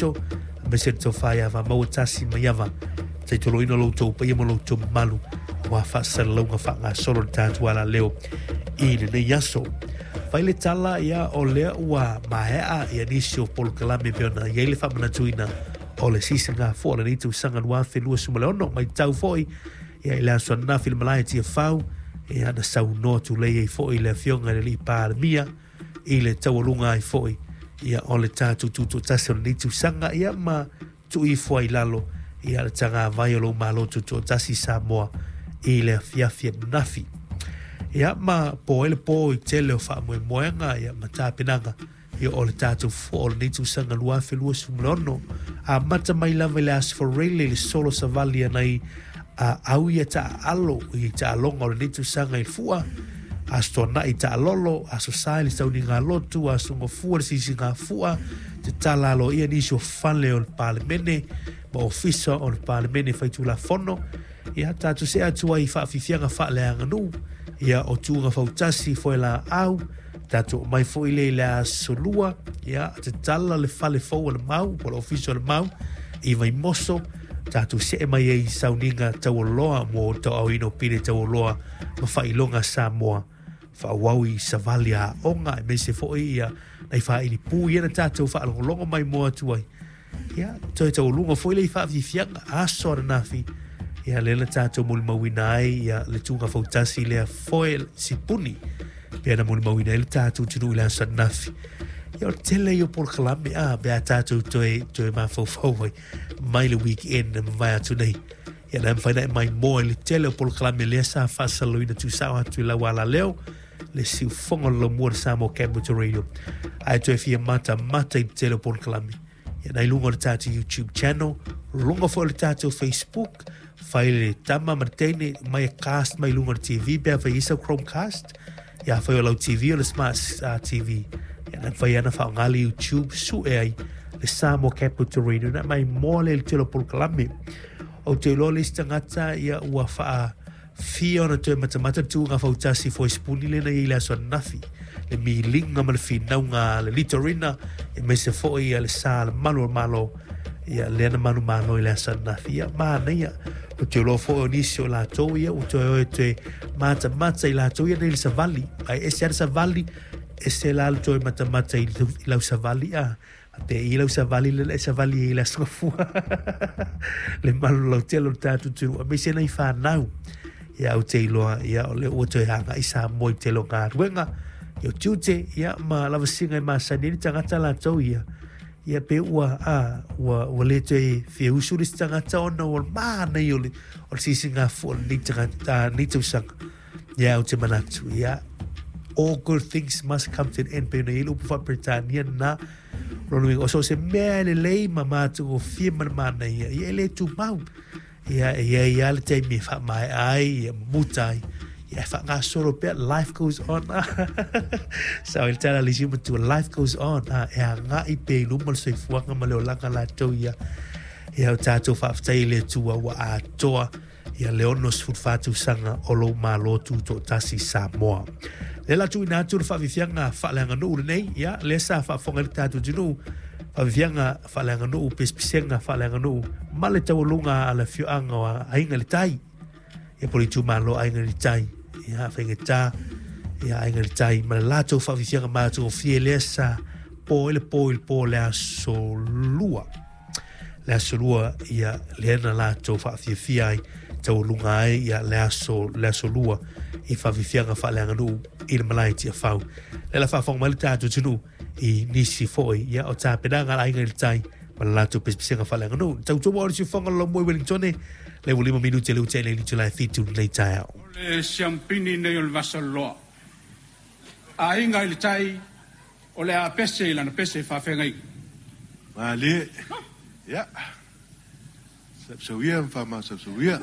Aemaise le tofa ia Vamaua Tasi Maiava, taitoloina lo outou paia ma lo outou mamalu aua faasalalauga faagasolo le tatou alaleo i lenei aso. Fai le tala ia o lea ua maea ia nisi o polokalame pei ona i ai le faamanatuina o le sisigafua o lenei tausaga 2026. Matau foi ia i le aso ananafi i le malae i Tiafau, ia na saunoa tulei ai foi le Afioga i le Alii Palemia i le taualuga ai foi ia o le tatou tutoatasi o lenei tausaga ia ma tuu ifo ai i lalo ia le tagavai o lou Malo Tutoatasi Samoa i le afiafi ananafi. Ia ma po ai le po i tele o faamoemoega ia ma tapenaga ia o le tatou fua o lenei tausaga 2026. Amata mai lava i le Aso Faraile i le solo savali a nai a au ia taaalo i taaloga o lenei tausaga i le fua, Aso Toonai taalolo, Aso Sa i le sauniga lotu, Aso Gafua le sisiga fua, te tala aloaia nisi o fale o le Palemene ma ofisa o le Palemene Faitulafono. Ia tatou see atu ai i faafiafiaga faaleaganuu, ia o tuuga fautasi foelaau, tatou oo mai foi lea i le aso Lua, ia tatala le fale fou o le Mau po o le ofisa o le Mau i Vaimoso, tatou see mai ai i sauniga taualoa mo le tauaaoina o pine taualoa ma faailoga Samoa faaauau i savali a aoga aemaise foi ia nai faaili pū ia na tatou faalogologo mai moa atu ai. Ia, toe taualuga foi le i faafiafiaga aso ananafi, ia lea na tatou molimauina ai ia le tuuga fautasi lea foe sipuni pea na molimauina ai le tatou atunuu i le aso ananafi. Ia o le tele ia o polokalame a pe a tatou toe, toe mafaufau ai mai le weekend na mavae atu nei. Ia na mafai na e maimoa i le tele o polokalame lea sa faasalalauina tuusao atu i lau alaleo le siufofoga o le laumua o le Samoa Capital Radio. Ae toe fia matamata i le tele o polokalame. Ia na i luga o le tatou YouTube channel, luga foi o le tatou Facebook, fai le tama ma le teine mai e cast mai luga o le TV pe a fai isa Chromecast. Ia fai o lau TV o le Smart TV. Ia na fai ana whaonga le YouTube su e ai le Samoa Capital Radio na mai moa le tele o polokalame. Ou te iloa le isi tagata ia ua whaa fia ona toe matamata le tuuga fautasi foisipuni lea na i ai i le aso ananafi, le miliga ma le finauga a le Litorina, aemaise foi ia le sa le malu o le Malo, ia lea na manumalo i le aso ananafi. Ia, manaia. Ou te iloa foi o nisi o latou ia ua toe o e toe matamata i latou ia nei le savali. Ae ese lava le savali, ese la le toe matamata i lau savali a. Te i lau savali le e savali i le aso fua. Le malu lautele o le tatou atunuu aemaise nai fanau. Ia ou te iloa ia o lea ua toe agai Samoa i tele o galuega ia o tiute ia ma lavasiga e masani ai le tagata latou ia. Ia pe ua a ua ua le toe fia usu le isi tagata ona ua manaia o le o le sisigafua o lenei tagata lenei tausaga. Ia ou te manatu, ia, all good things must come to an end, pei ona i ai le upu faa-Peretania lena, o lona uiga, o so o se mea e lelei ma matagofie ma le manaia, ia e le tumau. Ia, e i ai lava le taimi e faamaea ai, ia muta ai, ia e faagasolo pea, life goes on. Sao i le tala a le isi matua, life goes on, e agai pea i luma le soifuaga ma le olaga latou ia. Ia, o tatou faafetai i le Atua ua atoa ia le 64 tausaga o lou Malo Tutoatasi Samoa. Lea la tuuina atu le faafiafiaga faaleaganuu lenei, ia, lea sa faafofoga ai le tatou atunuu, faafiafiaga faaleaganuu, pesepesega faaleaganuu, ma le taualuga a le afioaga o Aiga i le Tai, ia po o le itumalo Aiga i le Tai, ia, faigata, ia, Aiga i le Tai, ma le latou faafiafiaga matagofie lea sa po ai le po i le po o le aso Lua. Le aso lua ia lea na latou faafiafia ai taualuga ai ia le aso le aso lua i faafiafiaga faaleaganuu i le malae Tiafau. Lea la faafofoga mai le tatou atunuu i nisi foi ia o tapenaga a le Aiga i le Tai ma le latou pesepesega faaleaganuu. Tautua o le siufofoga o le Laumua i Wellingtone, le ua 5 minute le ua nei le itula e 7 lenei taeao. O le siampini nei o le vasaloloa. Aiga i le Tai, O le a pese i lana pese faafeagaiga. Malie, ia, sausau ia ma faamasausau ia.